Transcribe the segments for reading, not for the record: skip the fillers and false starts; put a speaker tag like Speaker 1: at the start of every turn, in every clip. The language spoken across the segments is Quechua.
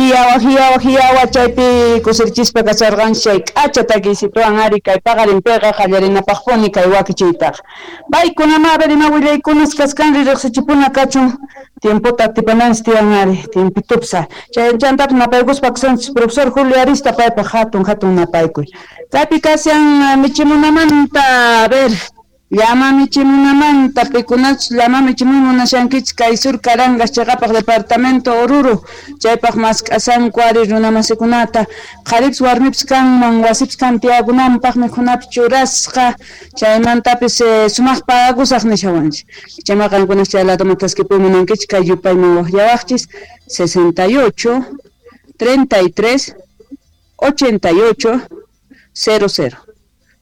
Speaker 1: Hiyawa, hiyawa, hiyawa, chaypi kusirichispa kasarqanchik chay k'acha takiysituwan ari kay paqarinpiqa qallarinapaqpuni kay wakichiytaqa. Paykunama a ver ima willaykunas kaskanri riqsichipuna kachun tiempota atipananchik tiyan ari tiempitupsa. Chay chantapis napaykuspa kasanchik profesor Julio Arista paypaq hatun hatun napaykuy. Kaypi kashan michimunamanta a ver llama michimunamanta pikunachus llama michimuy munashankichik kay Sur Carangas chiqapaq departamento Oruro chaypaq mask'asanku ari runamasikunata qharipis warmipis kanman wasipis kan tiyakunanpaq mikhunapis churasqa chaymantapis sumaq pagakusaq nishawanchik chayma qankunas chay ladoman thaskipuy munankichik kay yupayman waqllawaqchis 68 33 88 00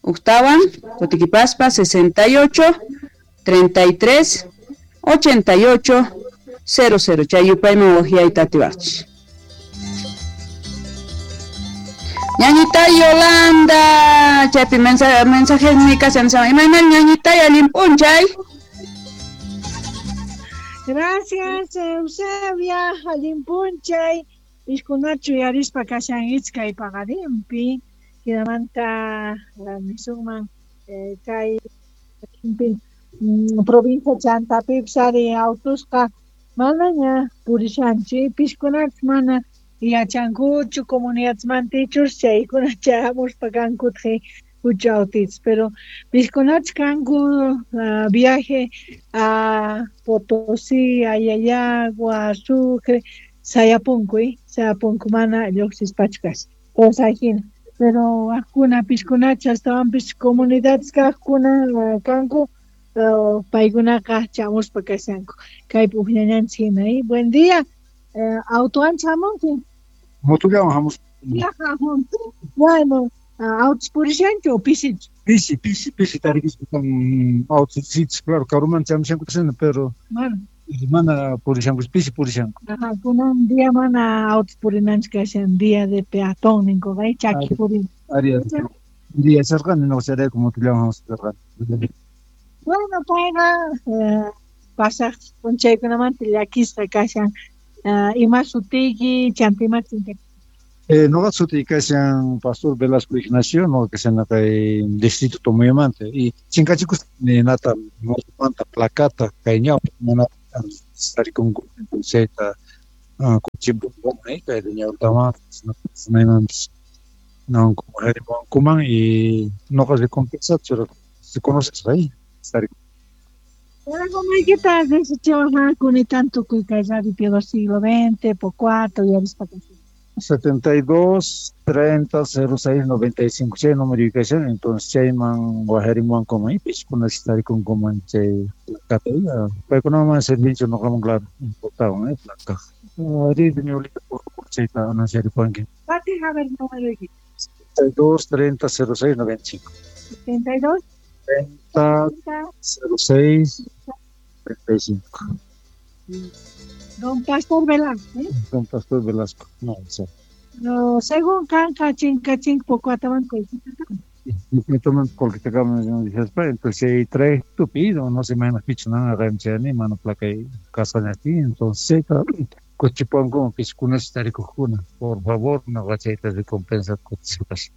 Speaker 1: Uktawan, kutikipaspa 68 33 88 00 chay yupayman waqyayta atiwaqchik. Ñañita Yolanda, chaypi mensaje mi kashan imayna ñañita allin p'unchay.
Speaker 2: Gracias, Eusebia, allin p'unchay. Piskunachu yarispa kashan iskay paqarinpi. Hinamanta nisunman kay provincia chantapipis ari autusqa manaña purishanchik piskunachus mana yachankuchu comunidadmantichus chaykuna chayamuspa kankutaq hucha autitos pero piskunachus kanku viaje a Potosí, a Llallagua, a Sucre, sayapunku, sayapunku mana lluqsispachu kashan entonces ahina. Pero waqkuna piskunacha astawanpis comunidades kaqkuna kanku paykunaqa chamuspa kashanku kaypi uqllañanchik hina. Buen día, autowan chamunki?
Speaker 3: Motollawan hamus.
Speaker 2: Bueno, autos purishanchu o pisichu?
Speaker 3: Pisi, pisi, pisi tarikispa kan autos sichus, claro, karuman chamushanku pero
Speaker 2: mana
Speaker 3: mana purishanku, pisi purishanku.
Speaker 2: Ajá, kunan día mana autos purinanchik kashan día de peatón ninkuqa, chaki purin.
Speaker 3: Ari, día sarqani no chayrayku motollawan hamusparqani.
Speaker 2: Bueno, payqa pasaq p'unchaykunamanta llakisqa kashan. Ima sutiyki, chanta ima chinkachiyki?
Speaker 3: Noqa sutiy kashan Pastor Velasco Ignacio, noqa kashan kay distrito Tomoyamanta y chinkachikusqa ninata motomanta placata kay ñawpa mana tarikunku chayta kuchipun kay ñawpaman maymanpis nankuman y noqa recompensa se conoce ahí tarikun.
Speaker 2: Maykita riqsichiwaqkuni tanto kay Radio Piedad siglo XX, Pocuato, yarispa kashan.
Speaker 3: 72 30 06 95 chay número kashan, entonces chayman wajarimuwankuman y piskunas tarikunkuman chay placata paykunaman servicio noqaman claro importaban placa. Ari ñulita por chayta anunciaripuwanki.
Speaker 2: Pati a ver número
Speaker 3: 72 30 06 95.
Speaker 2: 72
Speaker 3: 30 06 35.
Speaker 2: Don Pastor Velasco, ¿eh?
Speaker 3: Don Pastor Velasco, no, sí.
Speaker 2: No, según kanka chinkachink Pocuataman qullqitaqa.
Speaker 3: Toman qullqitaqa entonces chay trae tupido, no se mayna pichu nana qamchani mana placa kasqañati, entonces chayta kuchipuwankuman piskunas tarikuqkuna, por favor, noqa chayta recompensa kutispas.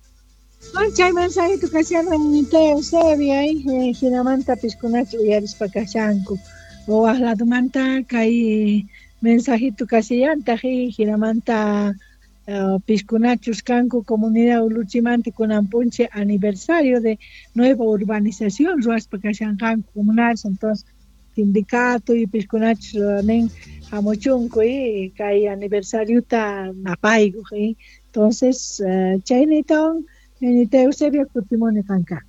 Speaker 2: Bueno, chay mensajito kashan ñañita Eusebia, hinamanta piskunachu uyarispa kashanku. O waq ladumanta kay mensajito kashallantaq hinamanta piskunachus kanku comunidad Uluchimanta kunan p'unchay aniversario de nueva urbanización ruwaspa kashanqanku comunales, entonces sindicato y piskunachus nin hamuchunku kay aniversariota napaykuq. Entonces chaynitawan ñañita Eusebia kutimuni qanka.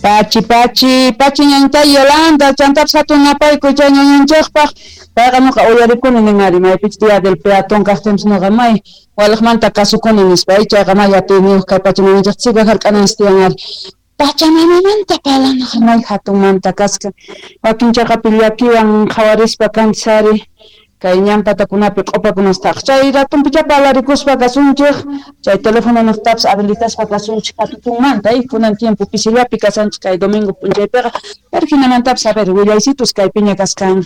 Speaker 1: Pachi, pachi, pachi ñañita Yolanda, chantapis hatun napaykuy chay ñañanchikpaq. Payqa nuqa uyarikuni nin ari maypichus día del peatón kaqtinpis nuqa may waliqmanta kasukuni nispa, chayqa may atiyniyuq kay pachamamanchisqa siga hark'ananchis tiyan ari. Pachamamamanta parlanaqa may hatunmanta kasqa. Wakin chaqapi llakiwan qhawarispa kanchis ari kay ñan patakunapi q'upakunastaq. Chay ratunpicha parlarikuspa kasunchik, chay teléfono niqtapis habilitaspa kasunchik hatutunmanta, kunan tiempo pisillapi kasanchik kay domingo p'unchaypiqa, pero hinamantapis a ver willaysitus kaypiña kasqan.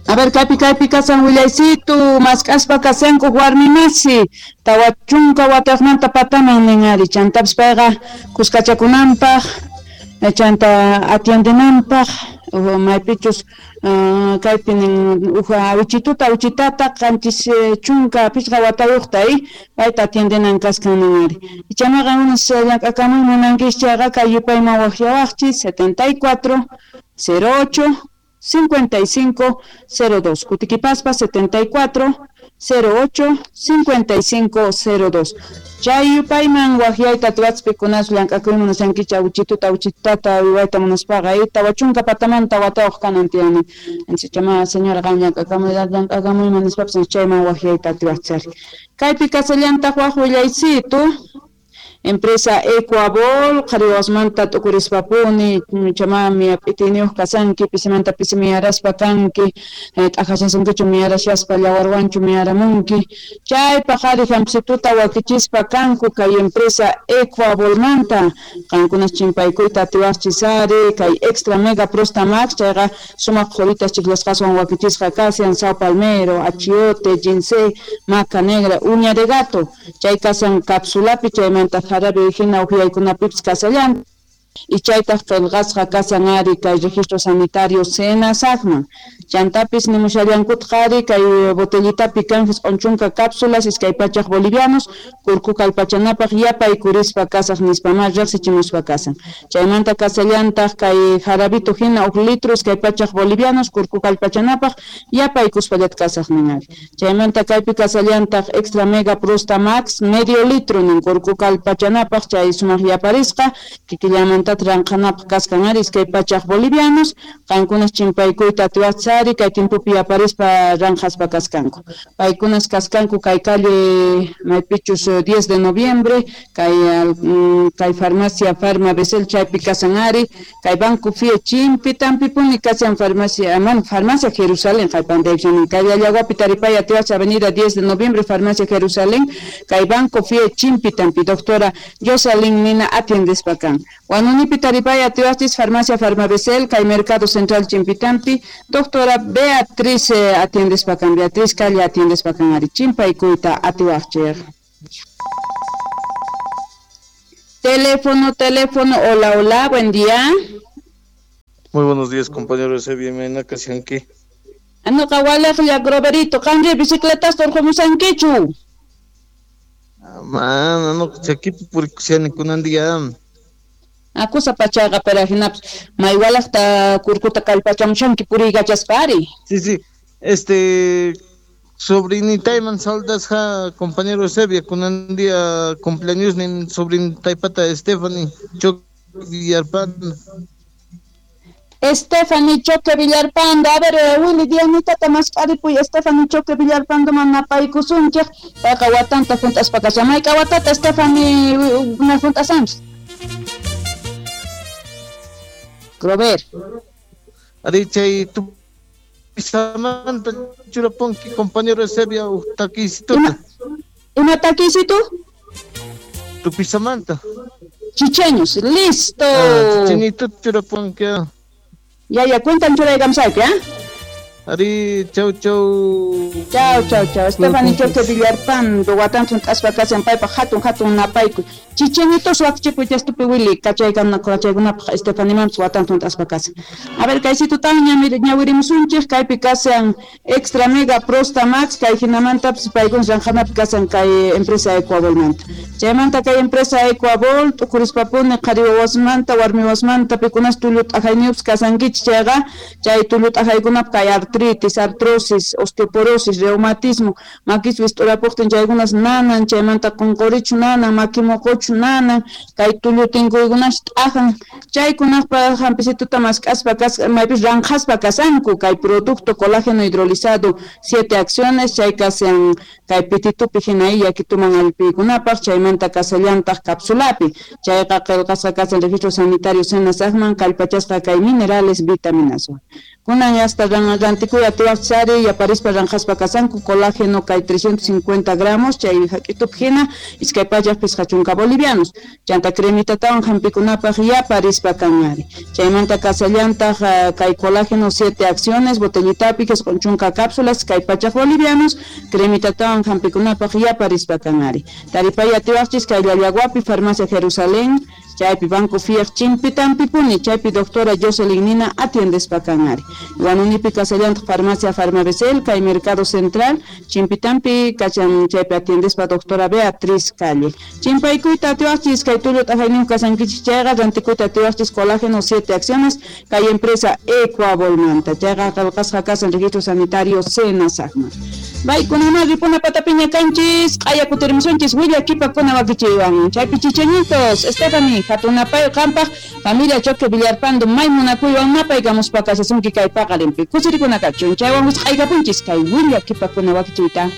Speaker 1: A ver, kaypi kasan willaysitu, mask'aspa kasanku warmimasi, 40 wataqmanta pataman nin ari, chantapis payqa kuskachakunanpaq, chanta atiendenanpaq, maypichus kaypi nin uj awichituta awichitata 75 watayuqta payta atiendenan kaskan nin ari. Ichamaqa unas llank'akamuy munankichis chayqa kay yupayman waqyawaqchis 74 08 55 02. Kutikipaspa 74 08 55 02. Chay yupayman waqyayta atiwachpi kunas llank'akuy munasankichik awichituta awichitata uywayta munaspaqa 40 patamanta watayuq kanan tiyani. Chama señora qam llank'akamuyman nispapas chayman waqyayta atiwachari. Kaypi kasallantaq waq willaysitu. Empresa Ecuabol, qhariwasmanta t'ukurispapuni, chamami p'itiniyuq kasanki, pisimanta pisi miyaraspa kanki, t'aqashasunkichu miyarashaspa llawarwanchu miyaramunki. Chaypaq qhari hamp'isituta wakichispa kanku kay empresa Ecuabolmanta. Qankunas chimpaykuyta atiwaqchis ari, kay Extra Mega Prosta Max, chayqa sumaq qhuritas chiklasqaswan wakichisqa kashan, sao palmero, achiote, ginseng, maca negra, uña de gato. Chay kasan capsulapi, chaymanta jarabe hina uhyaykunapipis kasallan. Y chaytaq qillqasqa kasan ari kay registro sanitario SENASACman. Chantapis nimushallankutaq ari kay botellitapi kan 90 cápsulas 200 bolivianos kurku kallpachanapaq yapaykurispa kasaq nispama riqsichimuspa kasan. Chaymanta kasallantaq kay jarabito hina 1 litro 200 bolivianos kurku kallpachanapaq yapaykuspallata kasaq nin ari. Chaymanta kaypi kasallantaq Extra Mega Prosta Max medio litro nin kurku kallpachanapaq chay sumaq yaparisqa kikillamanta ranqhanapaq kaskan ari 200 bolivianos qankunas chimpaykuyta atiwachari kay timpupi yaparispa ranqhaspa kaskanku. Paykunas kaskanku kay calle maypichus 10 de noviembre kay farmacia Farma Besel chaypi kasan ari kay Banco Fie chimpi tampipuni kasan farmacia man farmacia Jerusalén qaypandaypin kay Allaguapi taripay atiwach avenida 10 de noviembre farmacia Jerusalén kay Banco Fie chimpi tampi doctora Jocelyn Nina atiendespa kan. Huanunipi taripay atiwachis farmacia Farmabesel kay Mercado Central Chimpitampi doctora Beatriz atiendespa kan, Beatriz Calle atiendespa kan ari chimpaykuyta atiwaqchik. Teléfono, hola, hola, buen día.
Speaker 4: Muy buenos días, compañeros de Bienvenida, Casianqui.
Speaker 1: Anoqa walaqlla Groverito, qanri bicicletas torqumusankichu.
Speaker 4: Mana, no, chakipi purikushani kunan día.
Speaker 1: Akusa pachaqa pero hinapas maywalaqta kurkuta kallpachamushanki puriykachaspa ari.
Speaker 4: Sí, sobrinitayman saludas ja compañero Eusebio, kunan día cumpleaños nin sobrinitaypata Stephanie Choque Villarpando.
Speaker 1: Stephanie Choque Villarpando, a ver, Willy Dianita mask'aripuy Stephanie Choque Villarpando manapaykusunchik, payqa watanta junt'aspa kashan. Mayka watata Stephanie na junt'asanchis? Grover.
Speaker 4: Ari chay tupisamanta churaponki compañero Eusebio takisituta.
Speaker 1: Ima takisitu?
Speaker 4: Tupisamanta.
Speaker 1: Chicheños, listo.
Speaker 4: Chichenito churaponki.
Speaker 1: Ya, cuentan churaykamsayki, ¿ah?
Speaker 4: Ari, chau, chau.
Speaker 1: Chau, chau, chau. Stephanie Choque Villarpando, watantun t'aspa kasan paypaq hatun napaykuy. Chichenitos waqchipuy chastupi Willy, kachaykunapaq Stephanie mampis watantun t'aspa kasan. A ver, kaysitutan ñawirimusunchik, kaypi kasan Extra Mega Prosta Max, kay hinamantapis paykuna ranqhanapi kasan kay empresa Ecuabolmanta. Chaymanta kay empresa Ecuabol, t'ukurispapuni qhari wawasmanta, warmi wawasmanta, pikunas tullu t'ajayniyuqpis kasankichik chayqa, chay tullu t'ajaykunapaq kay artritis, artrosis, osteoporosis, reumatismo, makis wist'urapuqtin chaykunas nanan, chaymanta qunqurichu nanan, maki muquchu nanan, kay tullu tinkuykunas t'ajan, chaykunapaq hampisituta mask'aspa maypis ranqhaspa kasanku, kay producto colágeno hidrolizado 7 acciones, chay kasan kay pititupi hina yakituman allpiykunapaq, chaymanta kasallantaq capsulapi, chayqa qillqasqa kasan registro sanitario SENASACman kallpachasqa kay minerales vitaminaswan. Kunan hasta rantikuy atiwaqchis ari yaparispa ranqaspa kasanku colágeno kay 350 gramos chay hak'itupi hina 250 bolivianos. Chanta cremitatawan hampikunapaq yaparispa kan ari. Chaymanta kasallantaq kay colágeno 7 acciones botellitapi 90 cápsulas 200 bolivianos cremitatawan hampikunapaq yaparispa kan ari. Taripay atiwaqchis kay Llallaguapi Farmacia Jerusalén chaypi Banco Fiat Chimpitampipuni chaypi doctora Jocelyn Nina atiendespa kan ari. Huanunipi kasallantaq Farmacia Farmabecel kay Mercado Central Chimpitampi kachan chaypi atiendespa doctora Beatriz Calle. Chimpaykuyta atiwaqchis kay tullu t'aqayniyuq kasankichis chayqa rantikuyta atiwaqchis colágeno 7 acciones kay empresa Ecuabolmanta chayqa qillqasqa kasan registro sanitario Senasacma. Baykunama ripuna patapiña kanchis q'aya kutirmusunchis willakipakuna wakichiywan chaypi chichañitos Stephanie hatunapay qampaq familia Choque Villarpando may munakuywan napaykamuspa kashasunki kay paqarinpi kusirikuna kachun chaywan wisq'aykapunchis kay willakipakuna wakichiyta.